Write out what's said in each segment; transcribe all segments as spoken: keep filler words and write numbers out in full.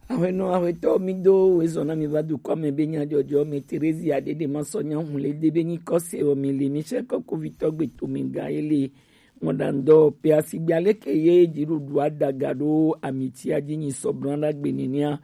Ahwenɔ ahwetɔ mi do wezɔn na mi va dukɔ me be nya jɔjɔ me Terezia ɖeɖe ma sɔ nya hun le de be nyi kɔse o mi le mi sɛ kɔkɔ vitɔ gbe to mi ga ele ŋɔdandɔ pe asigbe aleke ye dziɖuɖu adaga ɖo amitia dzi nyi sɔbran ɖagbe nenia.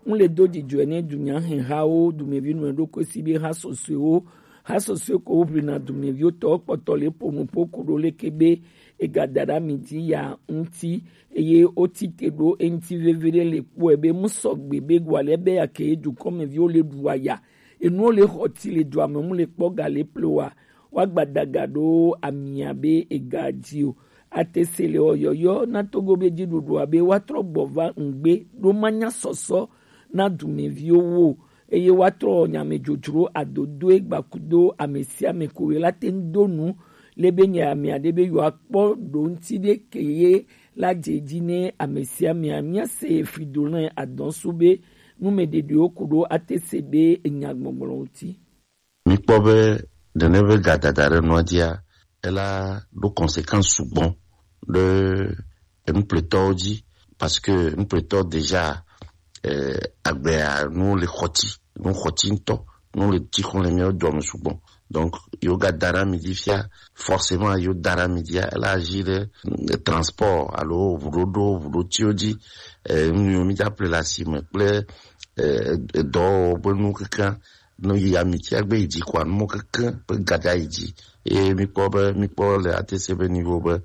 Ŋu le do dzidzɔe ne dunya hɛhawo dumevi nɔ ɖo kosi be ha sɔsɔewo ha sɔsɔe ko wo ʋlina dumeviwo tɔ kpɔtɔ le ƒo nu ƒo ku ɖo leke be ega da ɖe ami dzi ya ŋuti, eye woti te ɖo eŋuti vevie ɖe le kpɔe be mu sɔgbe be gua le be ya ke dukɔmeviwo le ɖu aya, enuwo le xɔ ti le dua me mu le kpɔ ga le plewa, wa gba daga ɖo amia be ega dzi o. Ate se le ɔyɔyɔ na Togo be dziɖuɖua be wa trɔ gbɔ va ŋgbe ɖo ma nya sɔsɔ na dumeviwo wo, eye wa trɔ nyame dzodzro adodoe gbakudo ame sia ame ko ye la te ŋu do nu le be nya ame aɖe be yewoa kpɔ ɖo ŋuti ɖe ke ye la dze dzi ne ame sia amea. Míase Fridolin Adɔnsu be numeɖeɖewo ku ɖo ate se be enya gbɔgblɔ ŋuti. Mikpɔ be nene be gadada ɖe nua dzia, ela ɖo conséquence sugbɔ ɖe enupletɔwo dzi, parce que enupletɔ déjà, eh, agbea nu le xɔti, nu xɔti ŋutɔ, nu le tsi xɔ le míawo dua me sugbɔ. Donc, yo ga da ɖe ami dzi fia, forcément yo da ɖe ami dzia, ela agir ɖe, eh, transport alo ʋuɖoɖo, ʋuɖotiwo dzi, eh, nu yiwo mi dza ple le asime kple, eh, edɔwɔwɔ ƒe nu kekeŋ. No yi ami tia gbe yi dzi kɔa, nu mɔ kekeŋ ƒe gada yi dzi. Eye mikpɔ be, mikpɔ le ate se be niveau be,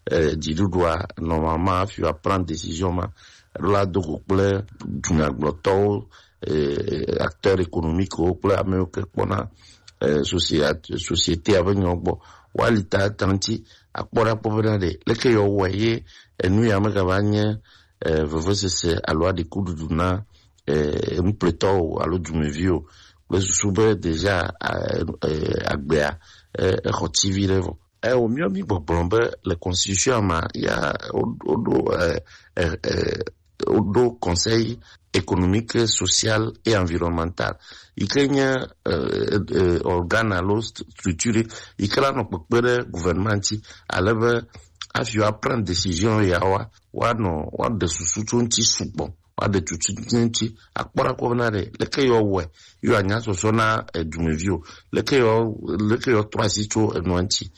eh, dziɖuɖua, normalement, hafi wa prendre décision ma, eɖo la do go kple dunyagblɔtɔwo, eh, acteurs économiques wo kple ame yiwo ke kpɔna, eh, soci-, société ave nyawo gbɔ. Woali ta ta ŋuti, akpɔ ɖa kpɔ bena ɖe leke yewoawɔe ye enu ya megava nye, eh, vevesese alo aɖikuɖuɖu na, eh, enupletɔwo alo dumeviwo kple susu be déjà, eh, eh, agbea, eh, exɔ tivi ɖe vɔ. Eh, wòmiɔ mi gbɔgblɔ be le constitution ma ya wo-, woɖo, eh, eh, eh, woɖo Conseil économique, social et environnemental, yi ke nye, eh, eh, organe alo st-, structure yi ke la nɔ kpekpe ɖe gouvernement ŋuti, ale be hafi woa prendre décision yawoa, woanɔ, woaɖe susu tso ŋuti sugbɔ, woaɖe tutu tso ŋuti, akpɔ ɖa kpɔ bena ɖe leke yewoawɔe, yewoanya sɔsɔ na, eh, dumeviwo, leke yewo, leke yewoatrɔ asi tso enua ŋuti.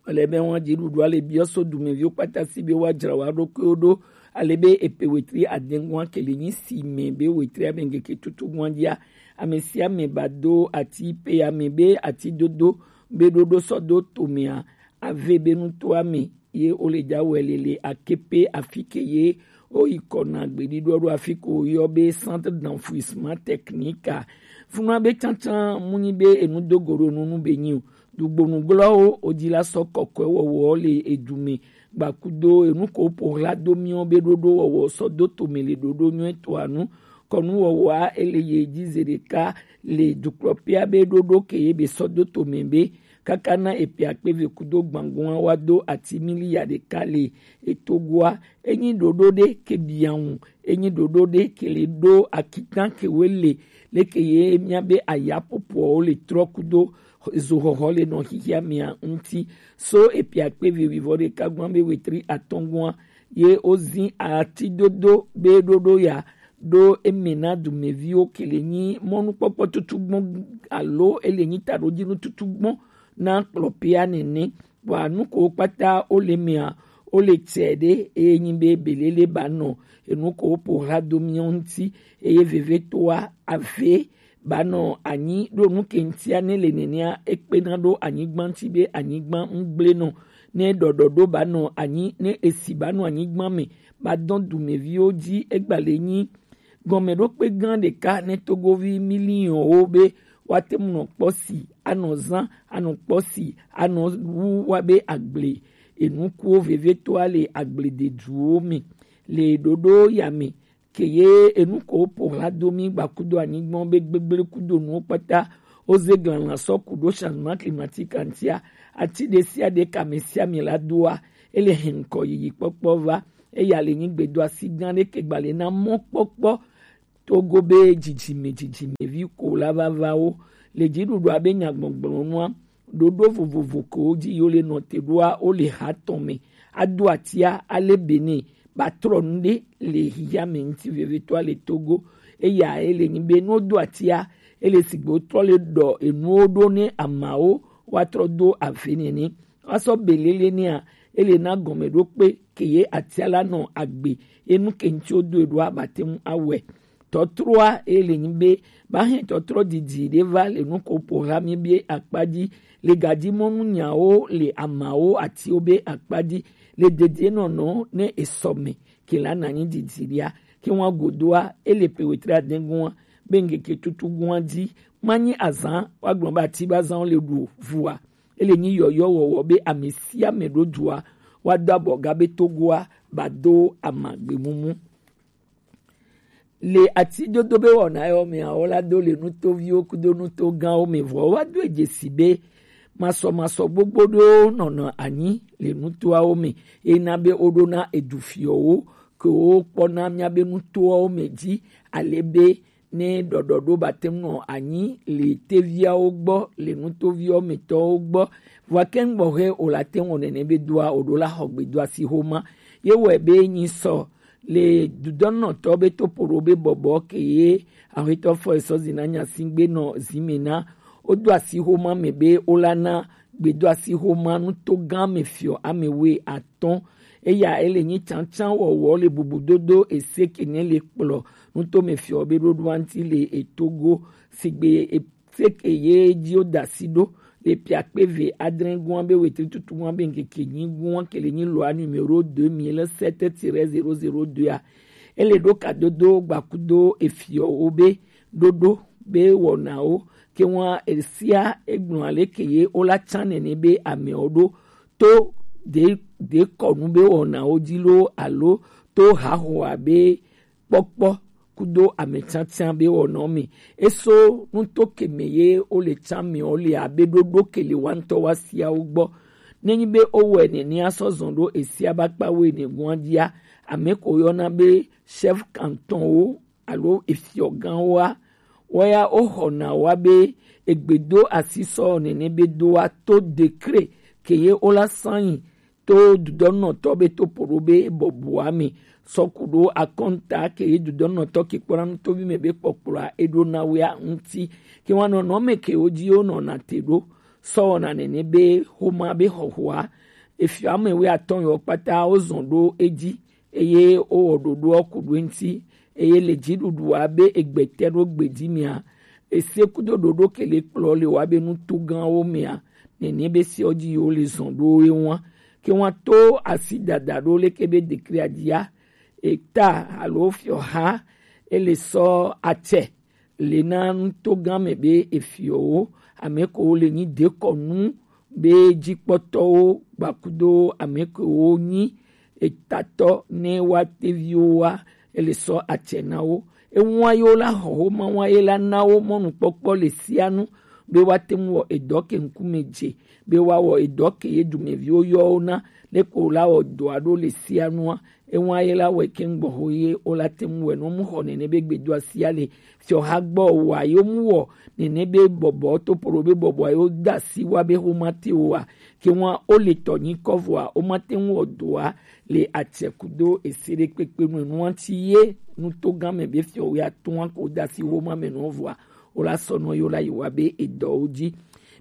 Wale be wọn dziɖuɖua le biɔ so dumeviwo kpata si be woadzra wo ɖokuiwo ɖo, ale be epe wetri adengua ke le nyi si me be wetri ame ŋgeke tutu gua dzia, ame sia ame ba do ati pe ame be ati dodo be ɖoɖo sɔ do tomea, ave be nutoa me ye wo le dza wɛ le le akepe afi ke ye wo yi kɔ na gbeɖiɖɔ ɖo afi ko yɔ be Centre d'enfouissement technique a. Funua be tsantsan mu nyi be enu do go ɖo nu nu be nyi o. Dugbonu glɔwo wo dzi la sɔ kɔkɔe wɔwɔ le edu me gbakudo enu ko po hla do miɔ be ɖoɖo wɔwɔ sɔ do tome le ɖoɖo nyuie toa nu. Kɔnu wɔwɔa ele ye dzi ze ɖeka le dukplɔƒea be ɖoɖo ke ye be sɔ do tome be kaka na epe akpe ve kudo gbangua wa do ati miliya ɖeka le etogoa. Enyi ɖoɖo ɖe ke biaŋu, enyi ɖoɖo ɖe ke le ɖo akitan ke we le leke ye mia be aya popoawo le trɔ kudo zoxɔxɔ le nɔ xixia mia ŋuti. So epe akpe ve wivɔ ɖeka gua be wetri atɔngua ye wozi ati dodo be ɖoɖo ya ɖo eme na dumeviwo ke le nyi mɔnukpɔkpɔ tutugbɔ alo ele nyi taɖodzinu tutugbɔ na kplɔpea nene. Wa nu ko kpata wo le mea, wo le tsɛ ɖe eye nyi be belele ba nɔ enu ko po ha do miɔ ŋuti, eye vevetoa ave ba nɔ anyi ɖo nu ke ŋutia ne le nenea ekpena ɖo anyigba ŋuti be anyigba ŋgble nɔ. Ne ɖɔɖɔ ɖo ba nɔ anyi, ne esi ba nɔ anyigba me ba dɔn dumeviwo dzi, egba le nyi gɔmeɖokpe gã ɖeka ne togovi miliɔnwo be woate ŋu nɔ kpɔ si anɔ zã, anɔ kpɔ si anɔ wu wa be agble enukuwo vevetoa le agblededuwo me le ɖoɖo ya me. Ke ye enu ko po hla do mi gba kudo anyigba be gbegble kudo nuwo kpata wo ze glanla sɔ ku ɖo changement climatique ŋutia. Ati ɖe sia ɖe kame sia me la doa ele hɛn ŋkɔ yiyi kpɔkpɔ va. Eya le nyigbe do asi gã ɖe ke gba le na mɔkpɔkpɔ Togo be dzidzime dzidzimevi ko la vava wo le dziɖuɖua be nyagbɔgblɔ nua. Ɖoɖo vovovo ko dzi yo le nɔte ɖoa wo le ha tɔn me. Ado atia ale bene ba trɔ nu ɖe le xixia me ŋuti vevitɔa le Togo. Eya ele nyi be nu wodo atia, ele sigbe wotrɔ le ɖɔ enuwo ɖo ne amawo woatrɔ do ave nene. Woasɔ belele nɛa, ele na gɔmeɖokpe ke ye atia la nɔ agbe, ye nu ke ŋuti wodo eɖoa bate ŋu awɔe. Tɔtroa ele nyi be, ba hɛn tɔtrɔ didi ɖe va le nu ko ƒo ha mi be akpa dzi, le gaji mɔnu nyawo le amawo atiwo be akpa dzi, le dedienɔnɔ ne esɔ me ke la na nyi didi ɖia, ke wa godoa, ele pe wetri adɛn gua, be ŋkeke tutu gua dzi, ma nyi azan, wa gblɔ be ati ba zan le ɖu vua. Ele nyi yɔyɔ wɔwɔ be ame sia ame ɖo dua, wa do abɔ ga be Togoa ba do amagbe mumu. Le ati dodo be wɔna yɔ mea, wo la do le nutoviwo kudo nuto gãwo me, vɔ wa do edzesi be masɔmasɔ gbogbo ɖewo nɔna anyi le nutoawo me, ena be woɖona edu fiɔwo ke wokpɔna míabe nutoawo me dzi, ale be ne ɖɔɖɔɖo bate ŋu nɔ anyi le teviawo gbɔ, le nutoviwo me tɔwo gbɔ, vɔa ke ŋgbɔ he o la te ŋu nene be doa o ɖo la xɔ gbedoasi xoma. Ye wɔe be nyi sɔ le dudɔnɔtɔ be topoɖo be bɔbɔ ke ye Axetɔ fɔ esɔ zina nyasi gbe nɔ zime na. Wodo asi xoma me be wola na gbedo asi xoma nuto gã me fiɔ ame wui atɔ̃. Eya ele nyi tsantsan wɔwɔ le bubudodo ese ke ne le kplɔ nuto me fiɔ be ɖoɖoa ŋuti le etogo sigbe ese ke ye dzi woda asi ɖo le piakpe ve adre gua be wetri tutu gua be ŋkeke nyi gua ke le nyi lɔa numéro deux mille sept tiret zéro zéro deux a. Ele ɖo kadodo gbakudo efiɔwo be ɖoɖo be wɔnawo ke wa esia egblɔ ale ke ye wola tsan nene be amewo ɖo to de de kɔnu be wɔnawo dzi lo alo to haxoa be kpɔkpɔ kudo ametiatia be wɔnɔ me. Eso nuto ke me ye wo le tsa me wo le abe ɖoɖo ke le wa ŋutɔ wa siawo gbɔ. Nenyi be wowɔe nenea sɔ zɔn ɖo esia ba kpa wo ene gua dzia, ame ko yɔna be chef canton wo alo efiɔgãwoa, woya woxɔna wa be egbedo asisɔ nene be doa to décret ke ye wola sanyi to dudɔnɔtɔ be topoɖo be bɔbɔa me sɔ ku ɖo akɔnta ke ye dudɔnɔtɔ ke kpɔna nutovi me be kpɔkplɔa eɖo na wea ŋuti. Ke wa nɔnɔ me ke wo dzi wo nɔna te ɖo sɔ wɔna nene be xoma be xɔxɔa. Efiɔ ame wea atɔ̃ yɔ kpata wo zɔn ɖo edzi eye wowɔ ɖoɖoa ku ɖo eŋuti eye le dziɖuɖua be egbete ɖo gbedzi mea, ese kudo ɖoɖo ke le kplɔ le wa be nuto gãwo mea, nene be sewo dzi yewo le zɔn ɖo ye wa ke wa to asi dada ɖo leke be dekria dzia eta alo fiɔha ele sɔ atsɛ le na nuto gã me be efiɔwo ame ko le nyi dekɔnu be dzikpɔtɔwo gbakudo ame ko wo nyi etatɔ ne wa teviwo wa ele sɔ atsɛ na wo. Ewa ye wo la xɔ xoma wa ye la na wo mɔnukpɔkpɔ le sia nu be wa te ŋu wɔ edɔ ke ŋkume dze be wa wɔ edɔ ke ye dumeviwo yɔ wo na ne ko la wɔ dɔa ɖo le sia nua. Ewa ye la wɛ ke ŋgbɔ ho ye wo la te ŋu wɛ no mu xɔ nene be gbedoa sia le fiɔha gbɔ wa yo mu wɔ nene be bɔbɔ topoɖo be bɔbɔ yo da si wa be xoma te wa ke wa o le tɔ nyi kɔ vɔa o ma te ŋu wɔ dɔa le atsɛ kudo ese ɖe kpekpe nu enua ŋuti ye nuto gã me be fiɔ wea tɔ̃a ko da si xoma me nɔ vɔa o la sɔ nɔ yo la yi wa be edɔwo dzi.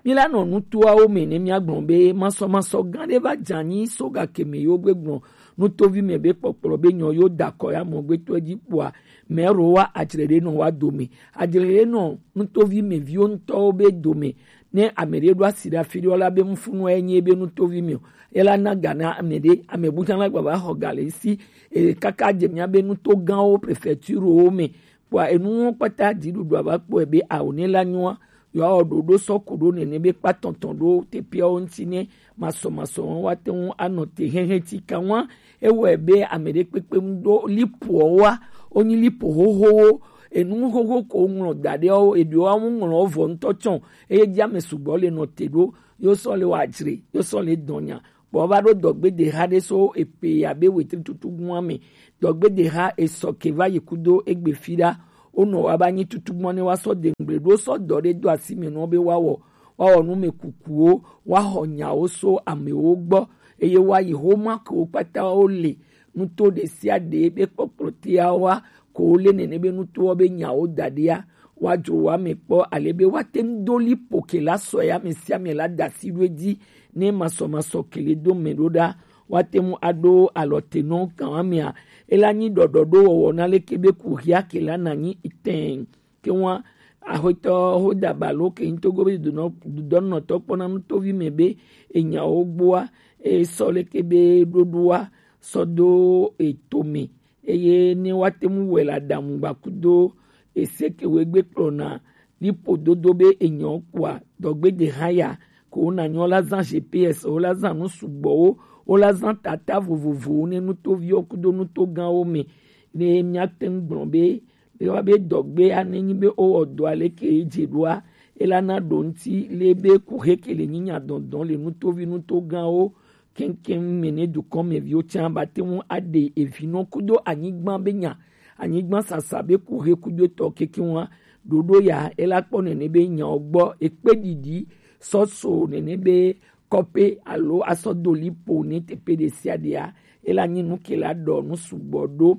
Mi la nɔ nutoawo me ne mia gblɔ be masɔmasɔ gã ɖe va dze anyi so gake me yo gbe gblɔ nutovi me be kpɔkplɔ be nyɔ yo da kɔ ya mɔ gbetɔ dzi kpɔa mɛ ro wa adzre ɖe nɔ wa dome adzre ɖe nɔ nutovi me viwo ŋutɔwo be dome ne ame ɖe ɖo asi ɖe afi ɖe la be ŋfunu enye be nutovi me o ela na ga na ame ɖe ame bu tsã la gba va xɔ ga le si e kaka dze mia be nuto gãwo prefecture wo me kpɔa enuwo kpata dziɖuɖua va kpɔe be awo ne la nyoa yewoawɔ ɖoɖo sɔ ku ɖo nene be kpatɔntɔn ɖo teƒeawo ŋuti ne masɔmasɔ wa te ŋu anɔ te hɛhɛ ti ka wa ewɔe be ame ɖe kpekpe ŋu ɖo lipoawoa wonyi lipo xoxowo enu xoxo ko ŋlɔ da ɖe wo eɖewo ŋu ŋlɔ vɔ ŋutɔ tsɔ eye dzi ame sugbɔ le nɔ te ɖo yo sɔ le wa dzre yo sɔ le dɔnya kpɔ va ɖo dɔgbedeha ɖe so epe abe wetri tutu gua me dɔgbedeha esɔ ke va yi kudo egbe fi ɖa wonɔ wa ba nyi tutu gbɔ ne wa sɔ de ŋgble ɖo sɔ dɔ ɖe do asi me nɔ be wa wɔ wa wɔ nu me kukuwo wa xɔ nyawo so amewo gbɔ eye wa yi xoma kewo kpata wo le nuto ɖe sia ɖe be kpɔkplɔ tea wa ko le nene be nutowo be nyawo da ɖea, wa dzro wa me kpɔ ale be wa te ŋu do li po ke la sɔ ya me sia me la da si ɖo edzi ne masɔmasɔ kele do me ɖo ɖa. Wa te ŋu aɖo alɔ te nɔ kan wa mea, ela nyi ɖɔɖɔ ɖo wɔwɔ na leke be ku hia ke la na nyi itɛn. Ke wa axɔtɔ ho da balo ke ŋtogo be dudɔnɔtɔ kpɔna nutovi me be enyawo gboa, e sɔ leke be ɖoɖoa sɔ do eto me, eye ne wa te ŋu wɛ la ɖamu gbakudo ese ke wo egbe kplɔna lipo dodo be enyɔ kpoa dɔgbe de hã ya ko wo na nyɔ la zan G P S, wo la zan nu sugbɔwo, wo la zan tata vovovowo ne nutoviwo kudo nutoganwo me. Ne mia te ŋu gblɔ be be wa be dɔgbe a ne nyi be wo wɔ dɔ ale ke ye dze ɖoa, ela na ɖo ŋti le be ku he ke le nyi nya dɔndɔn le nutovi nutoganwo keŋkeŋ me ne dukɔ me viwo tsã ba te ŋu aɖe evinɔ kudo anyigba be nya, anyigba sasa be ku he kudo etɔ kekeŋ wa ɖoɖo ya ela kpɔ nene be nyawo gbɔ ekpe ɖiɖi sɔso nene be kɔpe alo asɔ do li po ne teƒe ɖe sia ɖea ela nyi nu ke la ɖɔ nu sugbɔ ɖo.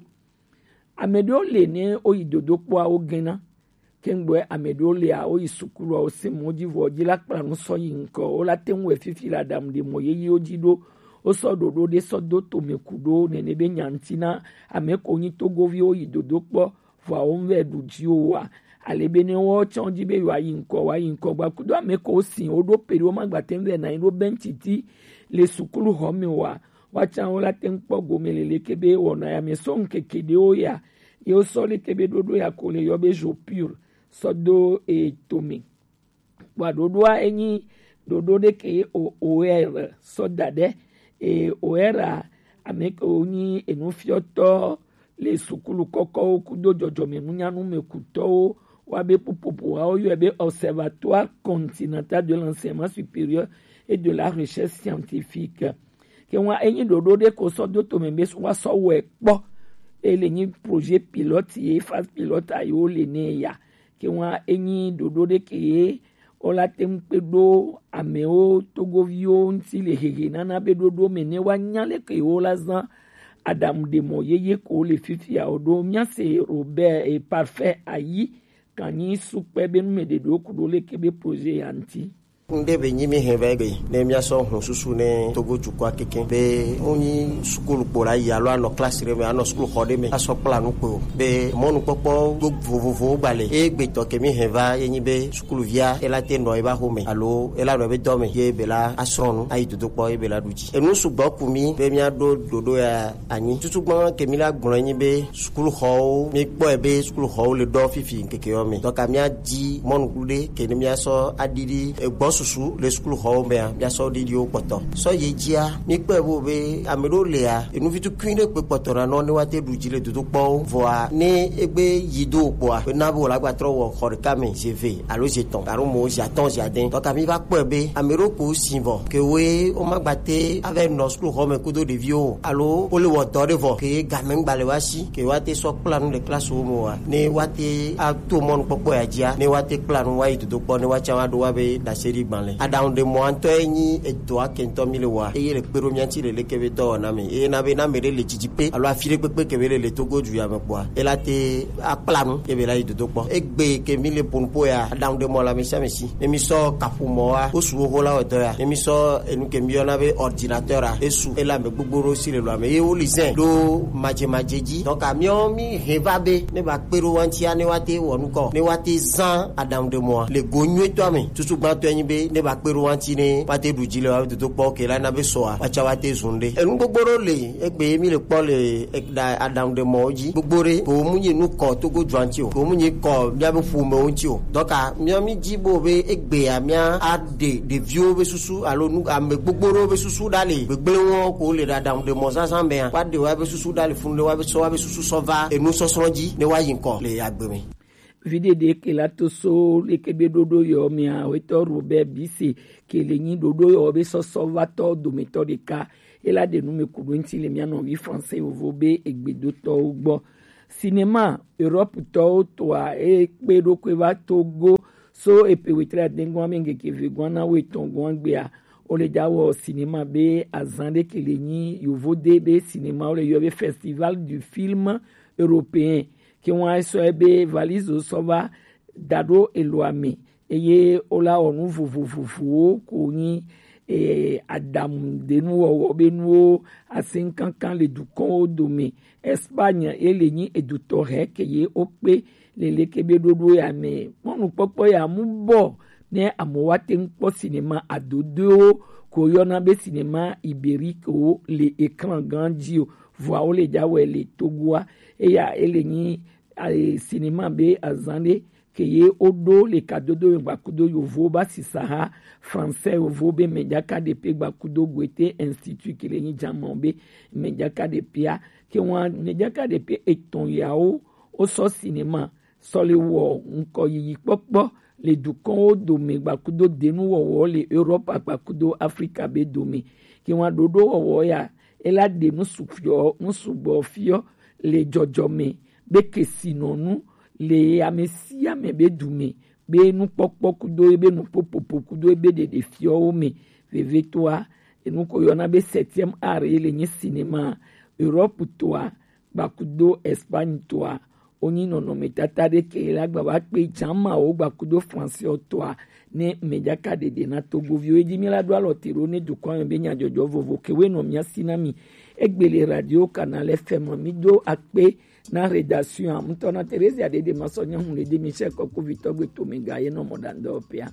Ame ɖewo le ne woyi dodokpɔa wo gena. Kengbe ame ɖewo lea, woyi sukulu a, wose mɔ dzi vɔ dzi la kpla nu sɔ yi ŋkɔ. Wo la te ŋu wɛ fifi le aɖaŋu ɖe mɔ yeyewo dzi ɖo. Wosɔ ɖoɖo ɖe sɔ do tome ku ɖo nene be nya ŋuti na ame ko nyi togoviwo yi dodo kpɔ, vɔa wo ŋu vɛ ɖu dzi o wa. Ale be ne wo tsɔ dzi be yewoa yi ŋkɔ, woa yi ŋkɔ gba kudo ame ko si wo ɖo pe ɖe wo ma gba te ŋu vɛ na yi ɖo bɛntiti le sukulu xɔ me wa. Woatsã wo la te ŋu kpɔ gome le leke be wɔna ya me sɔ ŋkeke ɖewo ya. Ye wosɔ leke be ɖoɖo ya ko le yɔ be jour pur sɔ do e tome. Kpɔa ɖoɖoa enyi ɖoɖo ɖe ke ye o O R sɔ da ɖe e O R a ame ke wo nyi enufiɔtɔ le sukulu kɔkɔwo kudo dzɔdzɔmenunyanu me kutɔwo wa be pupopo wa wo yɔe be Observatoire Continental de l'Enseignement Supérieur et de la Recherche Scientifique. Ke ŋua enyi ɖoɖo ɖe ko sɔ do tome be wa sɔ wɛ kpɔ. E le nyi projet pilote ye phase pilote a ye wo le ne ya. Ke ŋua enyi ɖoɖo ɖe ke ye wo la te ŋu kpe ɖo amewo togoviwo ŋuti le hehe nana be ɖoɖo me ne wa nya le ke wo la zã aɖaŋu ɖe mɔ yeye ko le fifia o ɖo mia se Robert e Parfait ayi kan nyi sukpɛ be nu me ɖe ɖo ku ɖo le ke be projet ya ŋuti. Ŋɖe be nyi mi hɛn va egbe ne míasɔ hun susu ne Togo dukɔa kekeŋ be ŋu nyi sukulu kpo la yi alo anɔ klasi ɖe me, anɔ sukulu xɔ ɖe me asɔ kpla nu kpo o. Be mɔnukpɔkpɔ do vovovowo gba le. Ye gbetɔ ke mi hɛn va ye nyi be sukuluvia ela te nɔ eba xo me alo ela nɔ ebe dɔ me ye be la asrɔ̃ nu ayi dodo kpɔ ye be la ɖu dzi. Enu sugbɔ ku mi be míaɖo ɖoɖo ya anyi. Tutugbã ke mi la gblɔ nyi be sukuluxɔwo, mi kpɔe be sukuluxɔwo le ɖɔ fifi ŋkeke yɔ me. Donc mía di mɔnukulu ɖe ke ne mía sɔ aɖiɖi egbɔsusu le sukuluxɔwo mea, mía sɔ ɖiɖiwo kpɔtɔ. Sɔ ye dzia, mi kpɔe bo be ame ɖewo lea, enuvi tukui ɖe kpe kpɔtɔ na nɔ ne wa te ɖu dzi le dodokpɔwo. Vɔa ne egbe yi do kpɔa, ena be wòle agba trɔ wɔ xɔ ɖeka me, zi eve alo zi etɔ̃ alo mo zi atɔ̃ zi ade. Donc mi va kpɔe be ame ɖewo ko si vɔ ke woe womagba te ava nɔ sukuluxɔ me kudo ɖeviwo o, alo wole wɔ dɔ ɖe vɔ ke game ŋgba le wa si ke woate sɔ kpla nu le klasiwo me oa, ne woate ato mɔnukpɔkpɔ ya dzia, ne woate kpla nu woayi dodokpɔ, ne woatsã woaɖo woabe ɖaseɖi gbalẽ. Aɖaŋuɖemɔ ŋutɔe nyi edɔa ke ŋutɔ mi le wɔa, eye le kpe ɖo mía ŋuti le leke be dɔwɔna me, eye na be ne ame ɖe le didi pe alo afi ɖe kpekpe ke be le le Togo du ya me kpɔa, ela te akpla nu ye be la yi dodokpɔ. Egbe ke mi le ƒo nuƒo ya, aɖaŋuɖemɔ le ame sia ame si. Ne mi sɔ kaƒomɔ wa, wosu xoxo la wɔ dɔ ya. Ne mi sɔ enu ke mi yɔna be ordinateur a, esu, ele ame gbogbo ɖewo si le lɔ ame ye woli zɛ ɖo madzemadze dzi. Donc miɔ mi hɛn va be ne ba kpe ɖo wa ŋutia, ne woate wɔ nukɔ, ne woate zã aɖaŋuɖemɔa le go nyuitɔa me. Tutugbãtɔe nyi be ne ba kpe ɖo wa ŋuti ne woate ɖu dzi le wa dodokpɔ ke la na be sɔa, woatsã woate zu nu ɖe. Enu gbogbo ɖewo le egbe ye mi le kpɔ le e-, ɖa-, aɖaŋuɖemɔwo dzi. Gbogbo ɖe ko mu nyi nu kɔ Togo dua ŋuti o, ko mu nyi kɔ míabe ƒomewo ŋuti o. Donc miɔ mi di bo be egbea mía aɖe ɖeviwo be susu alo nu ame gbogbo ɖewo be susu ɖa le gbegblẽwo ko le ɖaɖaŋuɖemɔ zazã mea, woaɖe woabe susu ɖa le funu ɖe woabe sɔ woabe susu sɔ va enusɔsrɔ̃ dzi ne woayi ŋkɔ le agbe me. Viɖe ɖe ke la to so leke be ɖoɖo yɔ mea, wetɔ Robert Bise ke le nyi ɖoɖo yɔ be sɔsɔvatɔ dometɔ ɖeka. Ela ɖe nu me ku ɖo ŋuti le mía nɔvi français vovo be egbedotɔwo gbɔ. Sinema Europe tɔwo toa e kpe ɖokui va Togo so epe wetri adengɔn ame ŋkeke ve gɔn na wetɔn gɔn gbea, Wo le ja wɔ cinéma be azan ɖe ke le nyi yovo de be cinéma wo le yɔ be Festival du Film Européen. Ke wan sɔ ebe valise sɔ va da ɖo eloa me eye wo la wɔ nu vovovovowo ko nyi eh, adamu ɖe nu wɔwɔ be nuwo asin kankan le dukɔnwo dome. Espagne ye le nyi edutɔ hɛ ke ye wo kpe le leke be ɖoɖo ya me kpɔnukpɔkpɔ ya mu bɔ ne amewo wa te ŋu kpɔ sinema adodoewo ko yɔna be sinema iberique wo le ekran gã dzi o. Vɔa wo le ja wɛ le Togoa eya ele nyi eh, sinema be azan ɖe ke ye wo ɖo le kadodo yɔ gbakudo yovo ba sisa ha français yovo be mɛ jaka ɖe pe gbakudo Goethe Institut ke le nyi jamɔ be mɛ jaka ɖe pea ke wan mɛ jaka ɖe pe etɔn yawo wo sɔ sinema sɔ le wɔ ŋkɔ yiyi kpɔkpɔ le dukɔnwo dome gbakudo denu wɔwɔ le Europe gbakudo Afrika be dome ke wan ɖoɖo wɔwɔ ya ela ɖe nu sufiɔ nu sugbɔ fiɔ le jɔjɔme be kesinɔnu le ame sia ame be dume be nukpɔkpɔ kudo ebe nuƒoƒoƒo kudo ebe ɖeɖefiɔwo me. Vevetoa enu ko yɔna be septième art ye le nye sinema Europe toa gbakudo Espagne toa wonyi nɔnɔmetata ɖe ke la gba va kpe jamawo gbakudo français toa ne mejaka ɖeɖe na Togoviwo edi mi la ɖo alɔ te ɖo ne dukɔ me be nyadzɔdzɔ vovo ke we nɔ mia si na mi. Egbe le radio Canal F M mi do akpe na rédaction ŋutɔ na Theresia Dede Masɔ nye hun le de Michel Kɔkuvitɔ gbe to me ga ye nɔ mɔ ɖandɔ pea.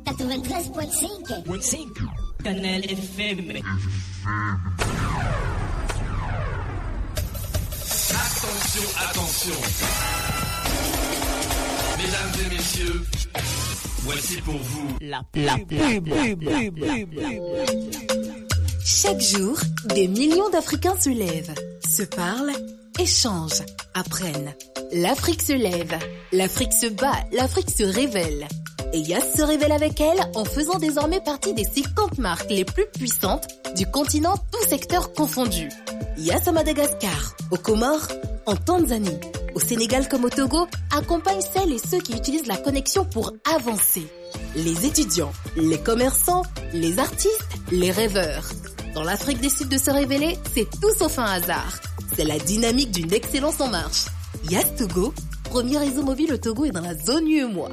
Quatre-vingt-treize point cinq. Canal F M. Attention, attention. Mesdames et messieurs, voici pour vous la pub. Chaque jour, des millions d'Africains se lèvent, se parlent, échangent, apprennent. L'Afrique se lève, l'Afrique se bat, l'Afrique se révèle. Et Yas se révèle avec elle en faisant désormais partie des cinquante marques les plus puissantes du continent, tout secteur confondu. Yas à Madagascar, aux Comores, en Tanzanie, au Sénégal comme au Togo, accompagne celles et ceux qui utilisent la connexion pour avancer. Les étudiants, les commerçants, les artistes, les rêveurs. Dans l'Afrique décide de se révéler, c'est tout sauf un hasard. C'est la dynamique d'une excellence en marche. Yas Togo, premier réseau mobile au Togo et dans la zone U E M O A.